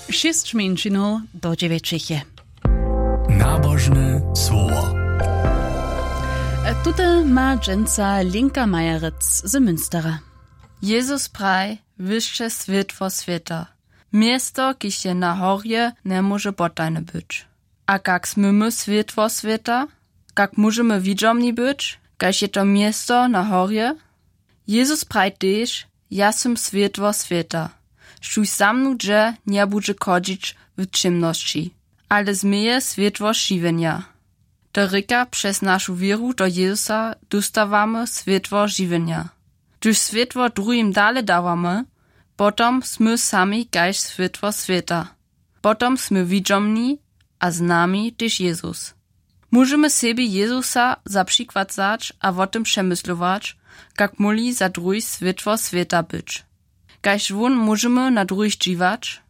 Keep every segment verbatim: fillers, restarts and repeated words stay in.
Šěsć mjeńšinow do dźewjećich je. Nabožne słowo. Tute ma dźensa Linka Majerec z Münstera. Jezus praj: Wy sće swětło swěta. Město, kiž je na horje, njemóže potajne być. A kak smy my swětło swěta? Kak móžemy widźomni być, kaž je to město na horje? Jezus praj tež: Ja sym swětło swěta. Štóž za mnu dźe, njebudźe chodźić w ćěmnosći, ale změje swětło žiwjenja. To rěka, přez našu wěru do Jezusa dóstawamy swětło žiwjenja. Hdyž swětło druhim dale dawamy, potom smy sami kaž swětło swěta. Potom smy widźomni a z nami tež Jezus. Móžemy sebi Jezusa za přikład wzać a wo tym přemyslować, kak móhli za druhich swětło swěta być. Kaž wón móžemy na druhich dźiwać,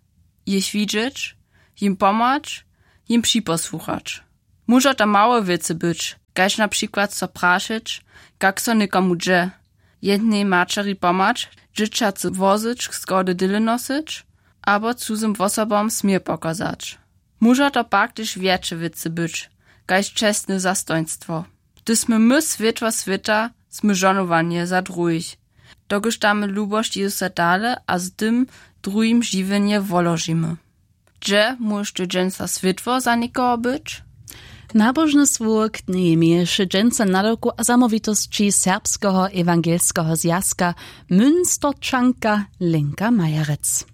jich widźeć, jim pomhać, jim připosłuchać. Móža to małe wěcy być, kaž na přikład so prašeć, kak so někomu dźe, jednej maćeri pomhać, dźěćacy wozyć, schody dyle nosyć, abo cuzym wosobom směr pokazać. Móža to pak tež wjetše wěcy być, kaž čestne zastojnstwo. Hdyž smy my swětło swěta, smy žohnowanje za druhich, dokelž damy lubosć Jezusa dale a z tym druhim žiwjenje woložimy. Hdźe móžeš ty dźensa swětło za někoho być? Nabožne słowo knjeje měješe dźensa nadawku a zamołwitosći Serbskeho ewangelskeho zwjazka Münsterčanka Lenka Majerec.